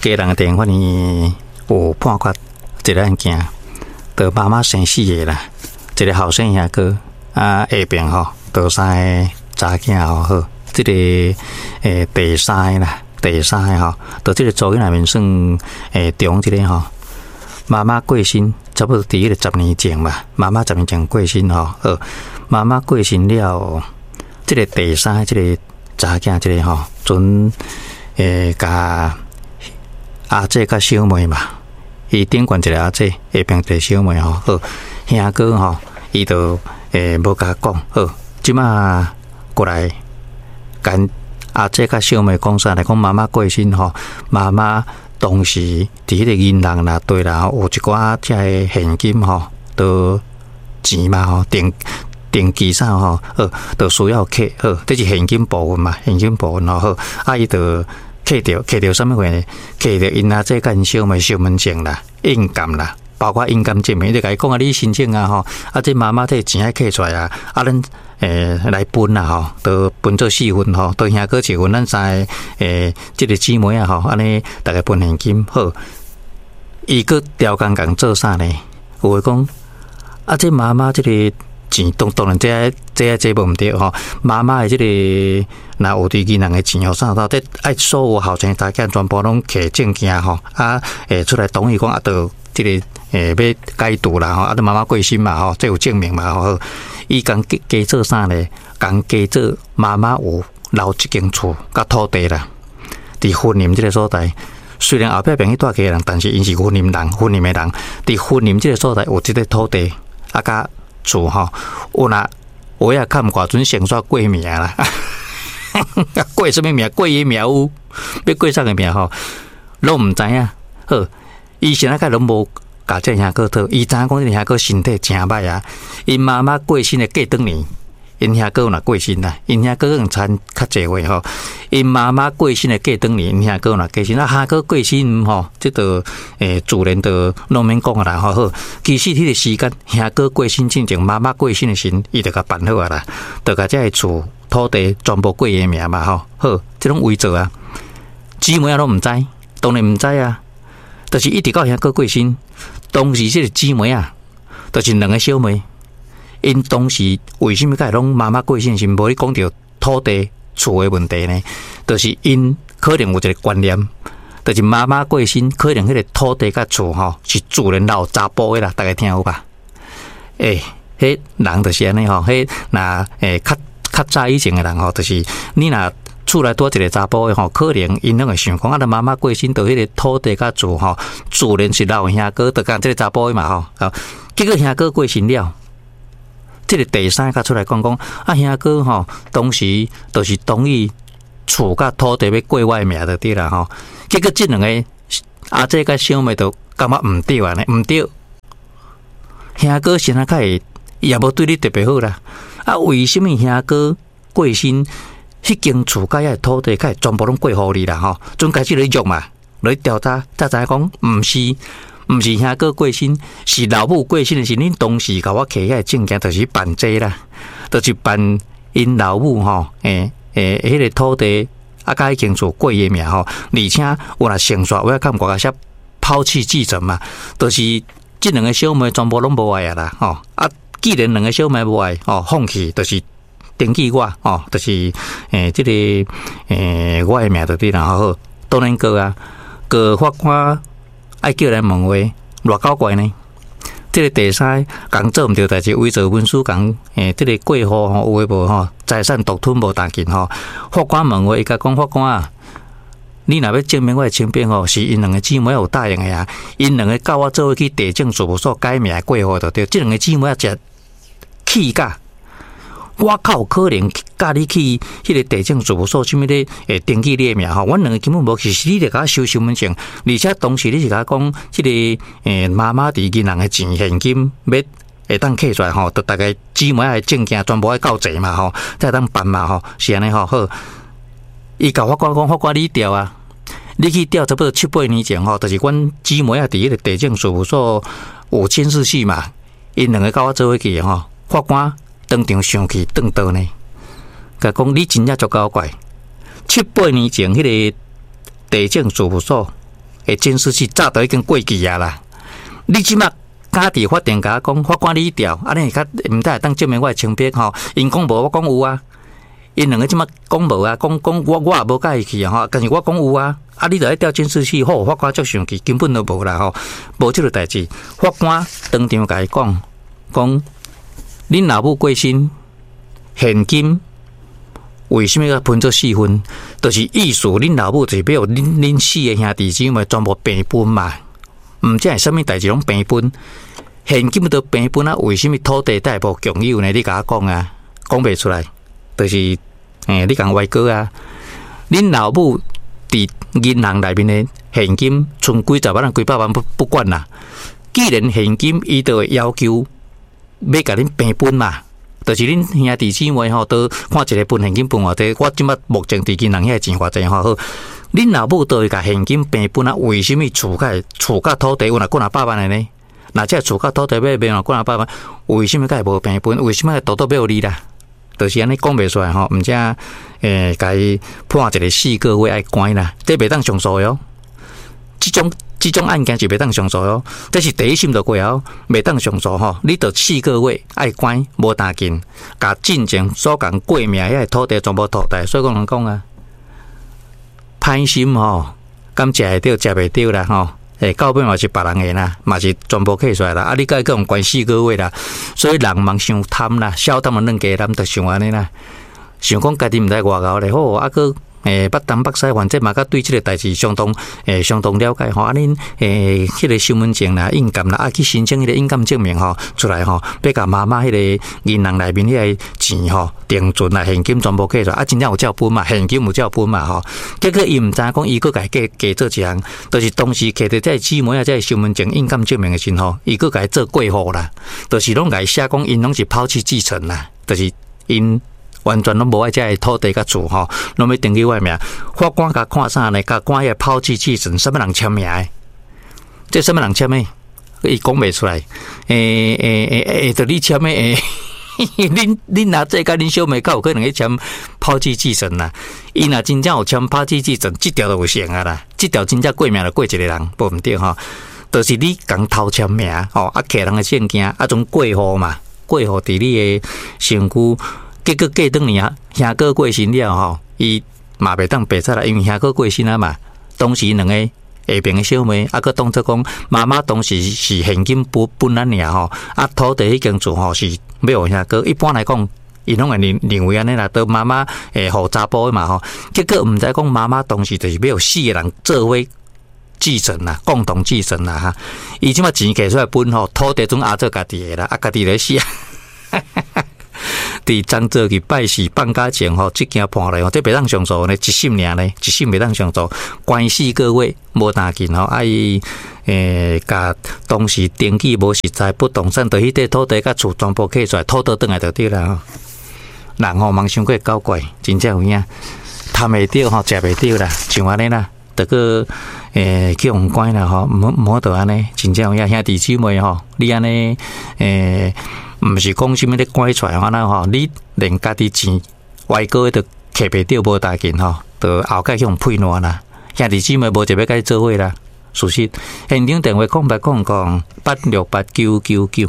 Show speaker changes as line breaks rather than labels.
基隆的地方法院有判決一個案件，就媽媽生四個啦，一個後生兄哥啊，下爿吼，就三个查囝吼好，這個第三個啦，第三個吼，就這個組內面算中這個吼，媽媽過身，差不多佇彼個10年前吧，媽媽十年前過身吼，好，媽媽過身了，這個第三個這個查囝這個吼，陣共阿姐佮小妹嘛，伊頂懸一個阿姐，下爿一個小妹吼，好，兄哥吼，伊就無共講，好，這馬過來共阿姐佮小妹講啥來講媽媽過身吼，媽媽當時佇彼個銀行啦對啦，有一寡遮个現金吼，都錢嘛吼，定定期啥吼，好，就需要扣，好，這是現金部分嘛，現金部分吼，好，啊伊就扣著，扣著啥物貨呢？扣著𪜶阿姐佮𪜶小妹身份證啦、印鑑啦，包括印鑑證明，伊就共伊講啊，你申請啊吼，啊這媽媽這錢愛扣出來啊，啊咱來分啦吼，都分做四份吼，都兄哥一份，咱三个這個姊妹啊吼，按呢逐家分現金好。伊閣刁工共做啥呢？有話講啊，這媽媽這個錢當當然這這這無毋對吼，媽媽的這個若有佇銀行的錢吼啥到，這愛所有後生查囝全部攏提證件吼，啊出來同意講啊，就這個欲解除啦吼，啊，你媽媽過身嘛吼，這有證明嘛吼。伊共加加做啥呢？共加做媽媽有留一間厝佮土地啦，佇雲林這個所在。雖然後壁爿去蹛家人，但是𪜶是雲林人，雲林的人，佇雲林這個所在有這個土地啊，佮厝吼，有若有影看毋過陣先煞過名啦，過啥物名？過伊名有，欲過啥个名吼？攏毋知影。好，伊現在較攏無共這兄哥討，伊知影講這兄哥身體誠歹啊。𪜶媽媽過身的過轉年，𪜶兄哥若過身啦，𪜶兄哥可能差較濟歲吼。𪜶媽媽過身的過轉年，𪜶兄哥若過身，啊兄哥過身吼，這就自然就攏免講啊啦吼。好，其實彼個時間，兄哥過身進前，媽媽過身的時陣，伊就共辦好啊啦，就共這个厝土地全部過伊名嘛吼。好，這攏偽造啊，姊妹仔攏毋知，當然毋知啊。就是一直到兄哥過身，當時這個姊妹啊，就是兩個小妹，𪜶當時為啥物會攏媽媽過身時無咧講著土地厝的問題呢？就是𪜶可能有一個觀念，就是媽媽過身，可能彼個土地佮厝吼是自然留查埔的啦，逐家聽有吧？彼人就是按呢吼，彼若較較早以前的人吼，就是你若厝內拄一個查埔的吼，可能𪜶攏會想講啊，咱媽媽過身，就彼個土地佮厝吼，自然是留兄哥，就共這個查埔的嘛吼。結果兄哥過身了，這個第三個出來講講，啊兄哥吼，當時就是同意厝佮土地欲過我的名就對啦吼。結果這兩個阿姐佮小妹就感覺毋對按呢，毋對。兄哥現在較會，伊也無對你特別好啦。啊，為啥物兄哥過身？彼間厝佮遐土地，較會全部攏過予你啦吼，陣開始咧約嘛，來調查，才知影講毋是，毋是兄哥過身，是老母過身的時，恁當時共我提遐個證件，就是辦這啦，就是辦𪜶老母吼，彼個土地啊，佮彼間厝過伊名吼，而且有若成煞，我看國家寫拋棄繼承嘛，就是這兩個小妹全部攏無愛啊啦，吼啊，既然兩個小妹無愛，吼，放棄就是。登記我吼，就是這個我的名就對啦，好，當然告啊，告法官愛叫來問話，偌搞怪呢？這個第三共做毋對代誌，偽造文書，共這個過戶吼，有的無吼，財產獨吞無當緊吼。法官問話，伊共講法官啊，你若欲證明我的清白吼，是𪜶兩個姊妹有答應的啊，𪜶兩個佮我做伙去地政事務所改名過戶就對，這兩個姊妹仔誠氣甲。我較有可能佮你去彼個地政事務所，啥物咧會登記你的名吼？阮兩個根本無去，是你咧共我收身份證，而且當時你是共我講，這個媽媽佇銀行的錢現金欲會當扣出來吼，就逐家姊妹的證件全部愛交齊嘛吼，才會當辦嘛吼，是按呢吼。好，伊共法官講，法官你調啊，你去調差不多七八年前吼，就是阮姊妹仔佇彼個地政事務所有監視器嘛，𪜶兩個佮我做伙去的吼，法官。當場生氣頓刀呢，共講你真正足搞怪。七八年前，彼個地政事務所的監視器早都已經過去啊啦。你這馬敢佇法庭共我講，法官你調，按呢會較毋知會當證明我的清白吼？𪜶講無，我講有啊。𪜶兩个這馬講無啊，講講我我也無佮意去啊吼，但是我講有啊，啊你著愛調監視器，好，法官足生氣，根本都無啦吼，無這个代誌。法官當場共伊講，講恁老母過身，現金為啥物欲分做四份？就是意思恁老母就是欲恁恁四个兄弟姊妹全部平分嘛，毋知係啥物代誌攏平分，現金都平分啊，為啥物土地才會無共有呢？你共我講啊，講袂出來。就是，你共歪哥啊！恁老母佇銀行內面的現金，賰幾十萬、幾百萬不不管啦。既然現金，伊就會要求欲共恁平分嘛。就是恁兄弟姊妹吼，都看一个分現金分偌濟。我這馬目前佇銀行遐錢偌濟吼好。恁老母都會共現金平分啊？為啥物厝佮厝佮土地有若幾若百萬的呢？若這厝佮土地欲賣若幾若百萬，為啥物佮會無平分？為啥物獨獨欲予你啦？就是按呢講袂出來吼，毋知共伊判一个四個月愛關啦，這袂當上訴喲。這種這種案件是袂當上訴喲，這是第一審就過哦，袂當上訴吼。你著四個月愛關無擔緊，共進前所共過名遐个土地全部淘汰。所以講人講啊，歹心吼，敢食會著，食袂著啦吼。到尾嘛是別人的啦，嘛是全部計出來啦。啊，你閣閣予關四個月啦，所以人茫傷貪啦，小貪啊，軟雞腩就想按呢啦，想講家己毋知偌𠢕咧好，啊閣捌東捌西，反正嘛閣對這个代誌相當相當了解吼。啊，恁彼个身份證啦、印鑑啦，啊去申請彼个印鑑證明吼出來吼，欲共媽媽彼个銀行內面彼个錢吼，定存啦、現金全部計出來，啊，真正有照分嘛，現金有照分嘛吼。結果伊毋知影講，伊閣共伊加加做一項，就是當時摕著這个姊妹啊，這个身份證、印鑑證明的時陣吼，伊閣共伊做過戶啦，就是攏共伊寫講𪜶攏是拋棄繼承啦，就是𪜶完全攏無愛這个土地佮厝吼，攏欲登記我的名。法官共看啥呢？共看彼个拋棄繼承，啥物人簽名的？這啥物人簽的？伊講袂出來。著你簽的？恁阿姐佮恁小妹較有可能去簽拋棄繼承啦。伊若真正有簽拋棄繼承，這條就有成啊啦。這條真正過名就過一个人，無毋對吼。就是你共偷簽名吼，啊，摕人的證件，啊，種過戶嘛，過戶佇你的身軀。結果過轉年啊，兄哥過身了吼，伊嘛袂當白煞啦，因為兄哥過身啊嘛。當時兩個下爿的小妹，啊，閣當做講媽媽當時是現金分分咱爾吼，啊，土地彼間厝吼是欲予兄哥。一般來講，𪜶攏會認認為按呢啦，都媽媽會予查埔的嘛吼。結果毋知講媽媽當時就是欲予四个人做伙繼承啦，共同繼承啦哈。伊這馬錢摕出來分吼，土地總阿做家己的啦，啊，家己咧死。佇漳州去拜四放假前吼，這件判來吼，這袂當上訴呢，一審爾呢，一審袂當上訴，關四個月無擔緊吼，啊伊共當時登記無實在不動產，就彼塊土地佮厝全部計出來，討倒轉來就對啦吼。人吼茫傷過狡怪，真正有影，貪會著吼，食袂著啦，像按呢啦，著閣去予關啦吼，毋毋好著按呢，真正有影兄弟姊妹吼，你按呢毋是講啥物咧拐出來按呢吼，你連家己錢歪哥都摕袂著無代誌吼，就後蓋去予配爛啦。兄弟姊妹無一个欲佮你做伙啦。事實，現場電話0800868999。